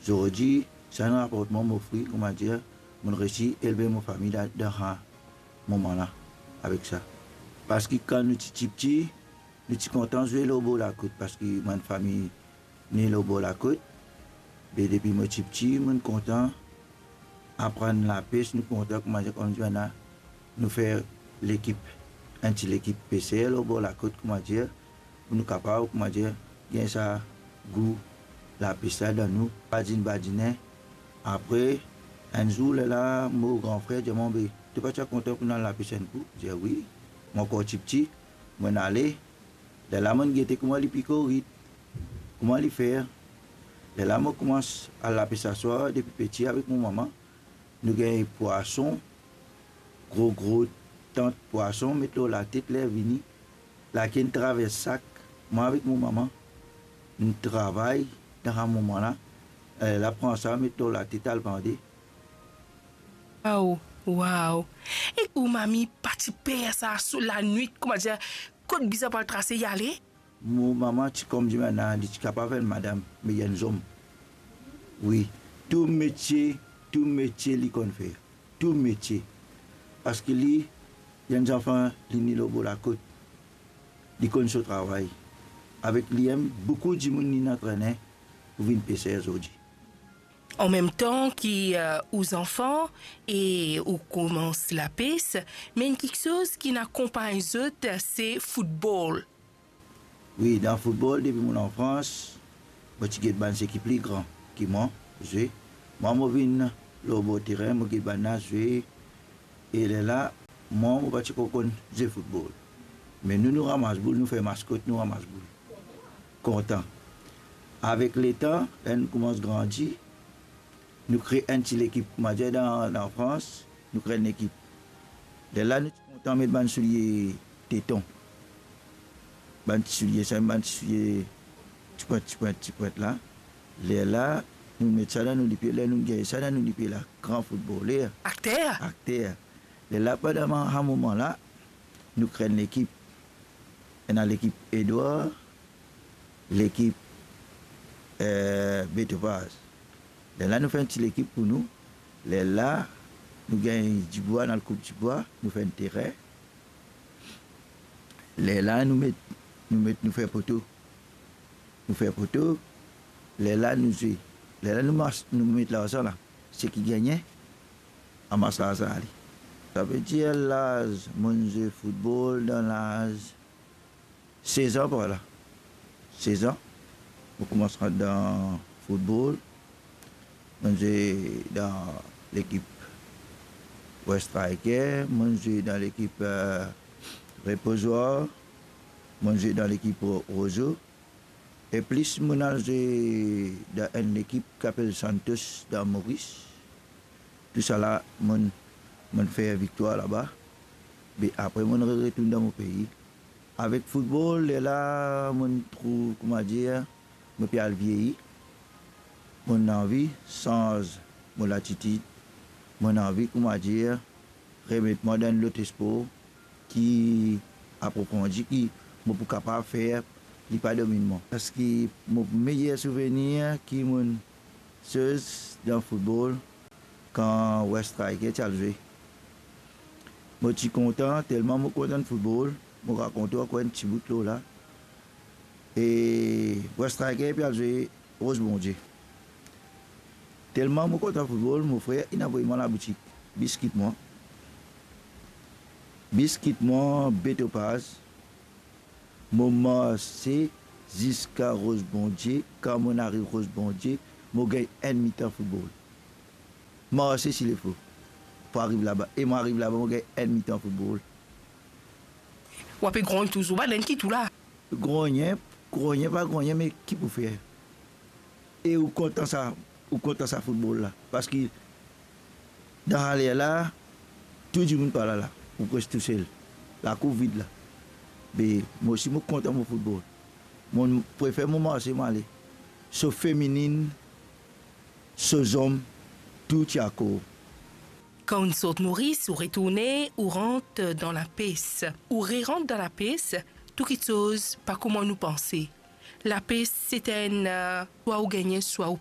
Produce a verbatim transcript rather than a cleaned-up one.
Zordi, sa enn raportman mo fri, koumadir, mo resi elve mo fami dan, dan sa moman la, avek sa. Parski kan nou ti tipti, nou ti kontan zwe lor bor lakout, parski bann fami ne lor bor lakout. Be depi mo tipti, mo kontan aprann lapes, nou kontan, koumadir, koumadir, nou fer lekip, enn ti lekip peser lor bor lakout, koumadir, pou nou kapav, koumadir, gagn sa gou lapes la dan nou, badinn badinen. Apre, enn zour, lerla mo gran frer dir mwa, "Be, to pa ti a kontan pou nou al lapes enn kou?" Mo dir, "Wi." Mo ankor tipti, mo ale. Lerla mo gete kouma li pik rit, kouma li fer. Lerla mo koumans al lapes aswar depi piti avek mo mama. Nou gagn pwason, gro gro tant pwason, met lor latet, ler vini, lakenn travers sak, mwa avek mo mama, nou travay dan sa moman la, eh, la pran sa, met lor latet, al vande. Waw, waw. E ou mami pa ti per sa, so lanwit, koumadir, kot bizin pou al trase, li ale? Mo mama ti kom dimoun la, li ti kapav enn madam, me li enn zom. Wi, tou metie, tou metie li konn fer. Tou metie. Parski li, li enn zanfan, li ne lor bor lakot. Li konn so travay. Avek li mem, boukou dimoun li antrene pou vinn peser zordi. An mem tan ki, eh, ou zanfan e ou koumans lapes, me enn kiksoz ki inn akonpagn zot, se foutbol. Wi, dan foutbol, depi mo lanfrans, mo ti get bann seki pli gran ki mwa zwe. Mwa, mo vinn lor bor terin, mo get bann la zwe. E lerla, mwa, mo pa ti konn zwe foutbol. Me nou, nou ramas boul, nou fer maskot, nou ramas boul. Kontan. Avek letan, ler nou koumans grandi, nou kre enn ti lekip. Mo dir dan, dan Frans, nou kre enn lekip. Lerla nou ti kontan met bann soulie teton. Bann ti soulie sa, bann ti soulie ti pwint, ti pwint, ti pwint la. Lerla, nou met sa dan nou lipie, ler nou gagn sa dan nou lipie la, gran foutboler. Akter. Akter. Lerla, pandan sa moman la, nou kre enn lekip. Ena lekip Edwar, lekip, eh, Betopaz. Lerla nou fer enn ti lekip pou nou. Lerla nou gagn dibwa, nou al koup dibwa, nou fer enn terin. Lerla nou met, nou met, nou fer poto. Nou fer poto, lerla nou zwe. Lerla nou mas-, nou met larzan la. Seki gagne, amas larzan ale. Savedir laz, mo'nn zwe foutbol dan laz sez an par la. Sez an, mo koumans rant dan foutbol. Mo'nn zwe dan lekip West Striker, mo'nn zwe dan lekip, eh, Repozoir, mo'nn zwe dan lekip Ro-, Rozo. E plis mo'nn al zwe dan enn lekip ki apel Santos dan Moris. Tousala mo'nn, mo'nn fer viktwar laba. Be apre mo'nn re-, retourn dan mo pei. Avek foutbol, lerla mo'nn trouv, koumadir, mo pe al vieyi. Mo'nn anvi sanz mo latitid. Mo'nn anvi, koumadir, remet mwa dan enn lot spor ki aprofondi, ki mo pou kapav fer li pa dominn mwa. Parski mo meyer souvenir ki mo'nn soz dan foutbol, kan West Striker ti al zwe. Mo ti kontan, telman mo kontan foutbol, mo rakont ou ankor enn ti bout lor la. E West Striker pe al zwe Roz Bondie. Telman mo kontan foutbol, mo frer inn avoy mwa laboutik, bis kit mwa. Bis kit mwa, Betopaz. Mo marse ziska Roz Bondie. Kan mo'nn ariv Roz Bondie, mo gagn enn mitan foutbol. Marse si lefo pou ariv laba. E mo ariv laba, mo gagn enn mitan foutbol. Ou ape grogn touzour, bann enn ki tou la. Grogn, grogn, pa grogn, me ki pou fer? E ou kontan sa, ou kontan sa foutbol la. Parski dan sa ler la, tou dimoun pa la la, ou pres tousel. Lakour vid la. Me mo osi mo kontan mo foutbol. Mo prefer mo marse, mo ale. So feminin, so zom, tou ti akor. Kan ou'nn sort Moris, ou retourne, ou rant dan lapes. Ou rerant dan lapes, tou kiksoz pa kouma nou panse. Lapes, se enn, eh, swa ou gagne, swa ou